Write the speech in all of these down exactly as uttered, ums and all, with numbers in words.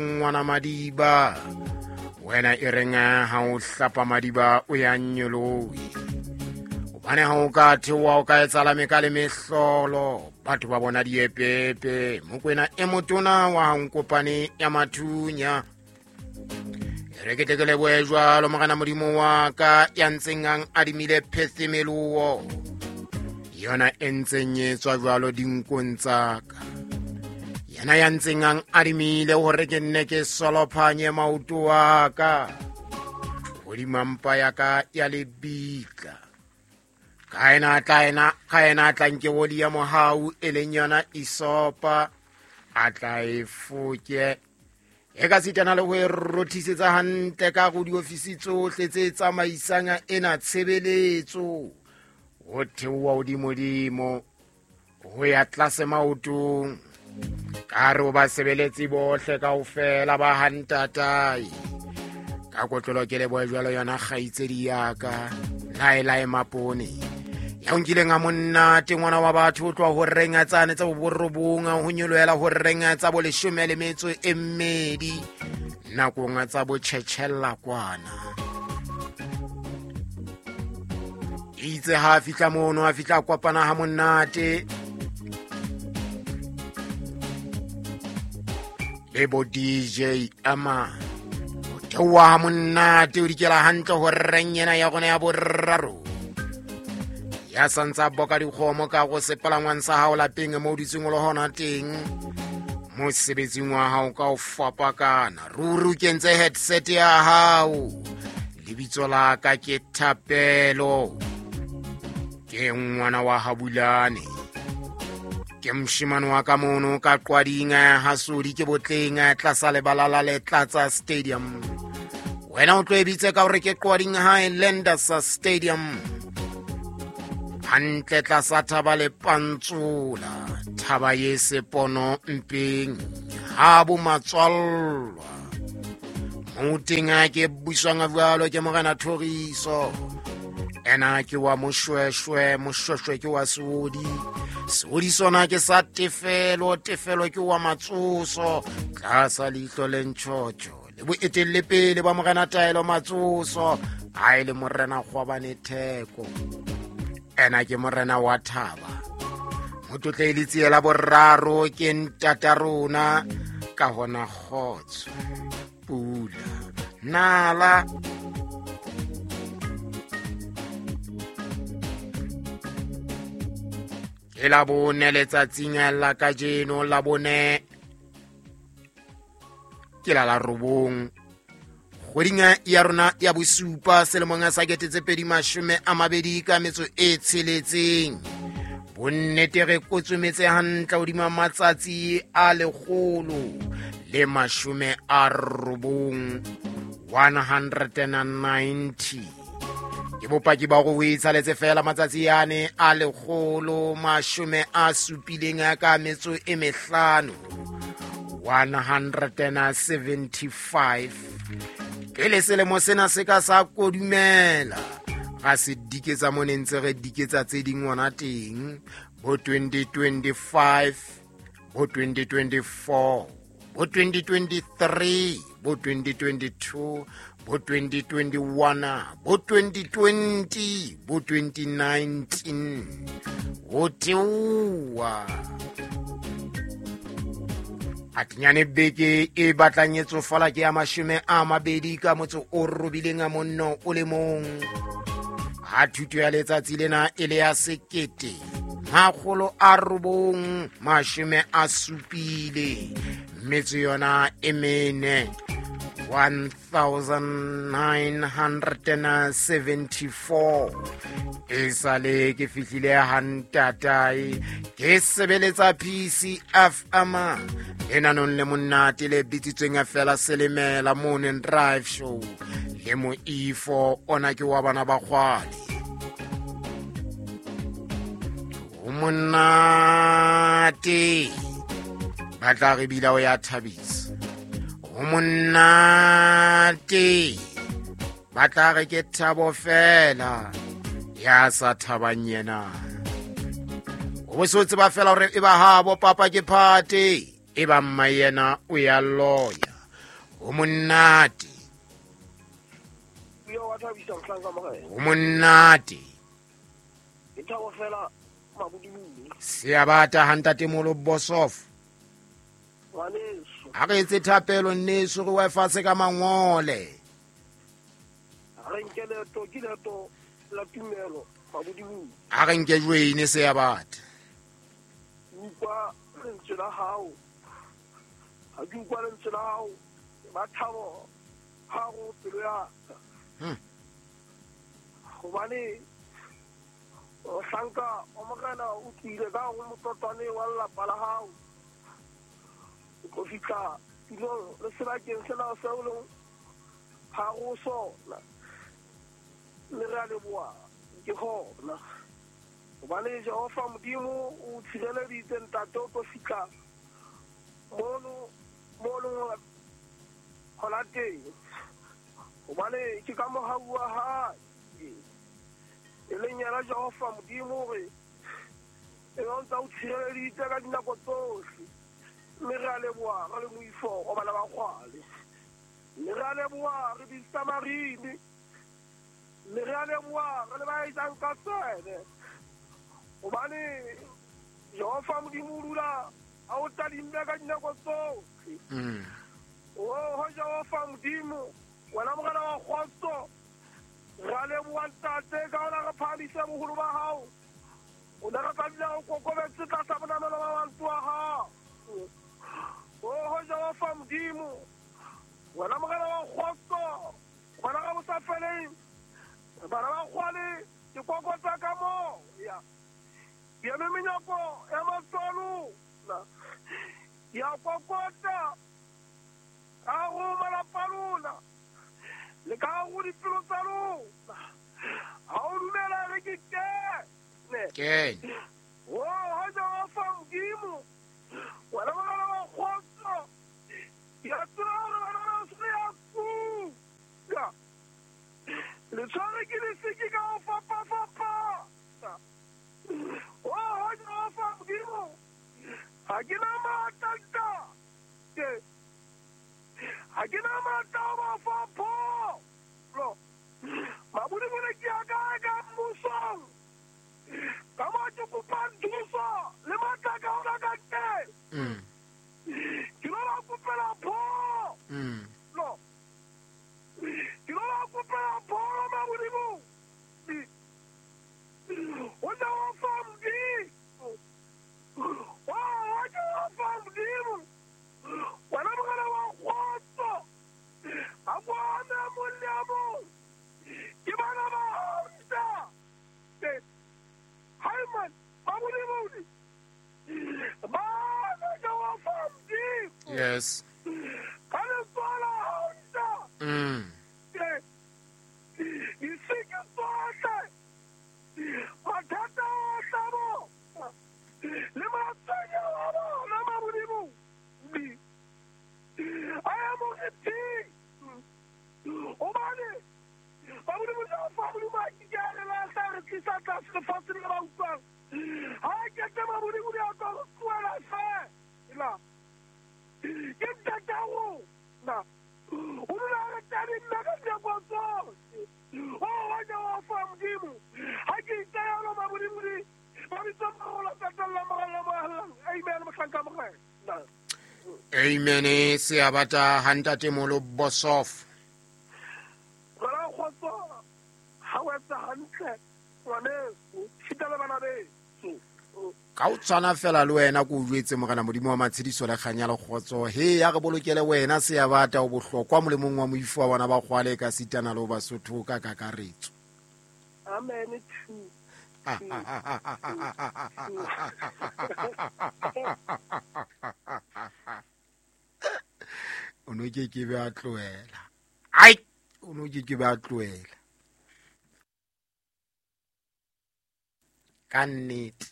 Ngwana madiba wena e reng ha o hlapa madiba o ya nyolohe hobane ha o ka theoha o ka etsala meka le mehlolo batho ba bona diepepe Mokwena e motona wa Nkopane ya Mathunya e re ke tle ke lebohe jwalo Morena Modimo wa ka ya ntseng a adimile phethemeloho yona e ntseng e tswa jwalo dinkong tsa ka yena ya ntseng a adimile hore ke nne ke solophanye maoto a ka hodima mpa ya ka ya lebitla ka ena tla ena ka ena tla nke oli ya mohau e leng yona isopa a tla e foke e ka sitana le ho e rothisetsa hantle ka go diofisi tsohle tse tsamaisang ena tshebeletso ho theoha hodimodimo ho ya tlase maotong ka re o ba sebeletsi bohle kaofela ba hantatae ka kotlolo ke lebohe jwalo yona kgaitsedi ya ka Laelae Mapone ya o nkileng a monnate ngwana wa batho o tloha ho reng tsane tsa boborobong ho nyolohela ho reng tsa boleshome le metso e mmedi nakong tsa botjhetjhella kwana itse ha a fihla mono a fihla kopana ha monate le bo D J ama o theoha ha monate o dikela hantle ho reng yena ya rona ya boraro ya santsa boka dikgomo ka go sepalangwang sa hao lapeng mo o dutseng o le hona teng mosebetsing wa hao ka o fapakana ruri o kentse headset ya hao lebitso la ka ke Thapelo ke ngwana wa Habulane ke moshemane wa ka mono ka Qwading ha Sodi ke Botleng tlasa lebala la Letlatsa Stadium wena o tlo e bitse ka hore ke Qwading Highlanders Stadium hantle tlasa thaba le Pantsola thaba ye sepono mpeng ha bo matswallwa moteng a ke buswang jwalo ke Morena Thoriso ena ke wa Moshweshwe Moshweshwe ke wa Seodi Seodi sona ke sa Tefelo Tefelo ke wa Matsoso tlasa leihlo le ntjhotjho le boetelle pele ba Morena Taelo Matsoso ha e le Morena Kgwabane Theko ena ke Morena wa Thaba motlotle le tsiela boraro ke ntata rona ka hona kgotso pula nala ke la bone letsatsing la kajeno la bone ke la la robong kgweding ya rona ya bosupa selemong sa kete tse pedi mashome a mabedi ka metso e tsheletseng bonnete re kotsometse hantle hodima matsatsi a lekgolo le mashome a robong one hundred ninety ke bopaki ba go itshaletse fela matsatsi ane a lekgolo mashome a supileng ka metso e mehlano one hundred seventy-five pele selemo sena se ka sa kodumela ga se diketsa mo ne ntse re diketsa tse ding ngwana teng bo twenty twenty-five bo twenty twenty-four bo twenty twenty-three bo twenty twenty-two bo twenty twenty-one bo twenty twenty bo twenty nineteen ho theoha atinyane beke e batlang e tsofala ke ya mashome a mabedi ka motso o robileng a monno o le mong ha thuto ya letsatsi lena e le ya sekete makgolo a robong mashome a supile metso yona e mene one thousand nine hundred seventy-four e sale ke fihlile hantatae ke sebeletsa P C F M lenanong le monate le bitsitsweng fela Selemela Morning Drive Show le moifo ona ke wa bana ba kgwale o monate ba tla re bila o ya thabisa o monate ba tla re ke thabo fela ya sa thabang yena o bo se o tseba fela hore e ba habo papa ke phate e ba mma yena o ya loya O monate. Yo wa thabisa mohlanka morena. O monate. Ke thabo fela mabodibodi. Seabata ha ntatemolo Bosof. Ngwaneso. Ha re etse thapelo nneso re we fatshe ka mangole. Ha re nke leeto ke leeto la tumelo mabodibodi. Ha re nke joine seabata. Utlwa lentswe la hao. Ha ke utlwa lentswe la hao ba thabo ha go pelo ya ka. Hmm. Hobane mohlanka wa morena o tlile ka go motlotwane wa lelapa la hao. O tlo fihla tulong le sebakeng sena seo leng ha go sona. Mme re a leboha ke hona. Hobane Jehova Modimo o tshireleditse ntate o tlo fihla mono mono hona teng. Hobane ke ka mohau wa hae e leng yena Jehova Modimo hore e o ntse o tshireleditse ka dinako tsohle. Mme re a leboha re le moifo wa bana ba kgwale. Mme re a leboha re di-Samarini. Mme re a leboha re le ba etsang ka tswele. Hobane Jehova Modimo o dula a o tadimme ka dinako tsohle. Mm. Oh, Jehova Modimo, wena morena wa kgotso, re a leboha ntate ka hona re phahamise boholo ba hao. O ne re tla dula o kokobetse tlasa bonamelo ba mantswe a hao. Oh, Jehova Modimo, wena morena wa kgotso, wena ka bosafeleng, bana ba kgwale ke kokotsa ka moya. Ke eme menyako ya matswalo ya kokota ka go malapa a lona le ka go dipelo tsa lona. Ha o dumela re ke kene. Kene. Oh, Jehova Modimo, wena morena wa kgotso, ke a tseba hore bana ba se ya kuka. Le tshware ke lesiki ka ho fapafapana. Oh, Jehova Modimo, ha ke na matla ntate. Ha ke na matla ho ba fa pholo. Mabodibodi ke a kae ka mmusong? Ka moo ke kopang thuso le matla ka ona ka teng. Mm. Ke lo ba kopela pholo. Mm. Ke lo ba kopela pholo mabodibodi. O Jehova Modimo. Oh, Jehova Modimo. Wena morena wa kgotso, a bona mong le a mong. Ke bana ba hao ntate. Hai man, mabodibodi. Bana Jehova Modimo. Yes. Ka letsoho la hao ntate. Mm. Disiki tsohle, mathata ohle a bona, le matshwenyeho a bona mabodibodi. A ya moriting. Hobane mabodibodi Jehova Modimo a ke ke a re lahla, a re tlisa tlase lefatsheng le ba utlwang. Ha a kete mabodibodi a tlo re tlohela feela. Ke ntate wa rona. O dula a re tadimme ka dinako tsohle. Oh, Jehova Modimo, ha ke itayalo mabodibodi, ba bitsa morolo tatella morena moahlang. Amen, mohlanka morena. Amen. Seabata ha ntatemolo Bosof. Morena kgotso, ha o etsa hantle ngwaneso, sita le bana beso. Ka o tshwana fela le wena ko o jwetse morena Modimo wa matshediso le kganya le kgotso. He ya re bolokele wena seabata o bohlokwa molemong wa moifo wa bana ba kgwale ka sitana le ho Basotho ka kakaretso. Amen. Two. O no ke ke be a tlohela. Ai, o no ke ke be a tlohela. Ka nnete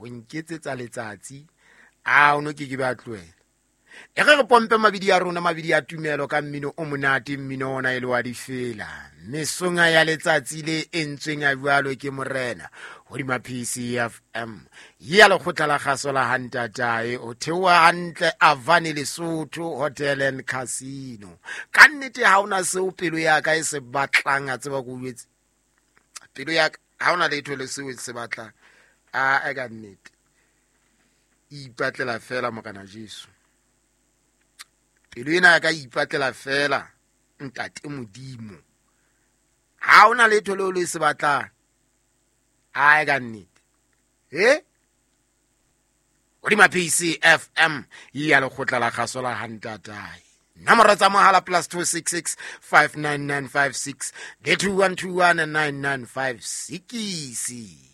ho nketsetsa letsatsi, a o no ke ke be a tlohela. E re re pompe mabidi a rona, mabidi a tumelo ka mmino o monate, mmino ona e le wa difela. Mesonga ya letsatsi le entsweng a jwalo ke morena hodima P C F M ya lekgotla la kgaso la Hantatae, o theoha hantle Avani Lesotho Hotel and Casino. Ka nnete ha ona seo pelo ya ka e se batlang, a tseba ko jwetse pelo ya ka ha ona letho le seo e se batlang. A e ka nnete ipatlela fela Morena Jesu, pelo ena ya ka ipatlela fela Ntate Modimo. Ha ona letho leo le se batlang, a e ka nnete he hodima P C F M ya lekgotla la kgaso la Hantatae. Nomoro tsa mohala plus two six six five nine nine five six le two one two one nine nine five six.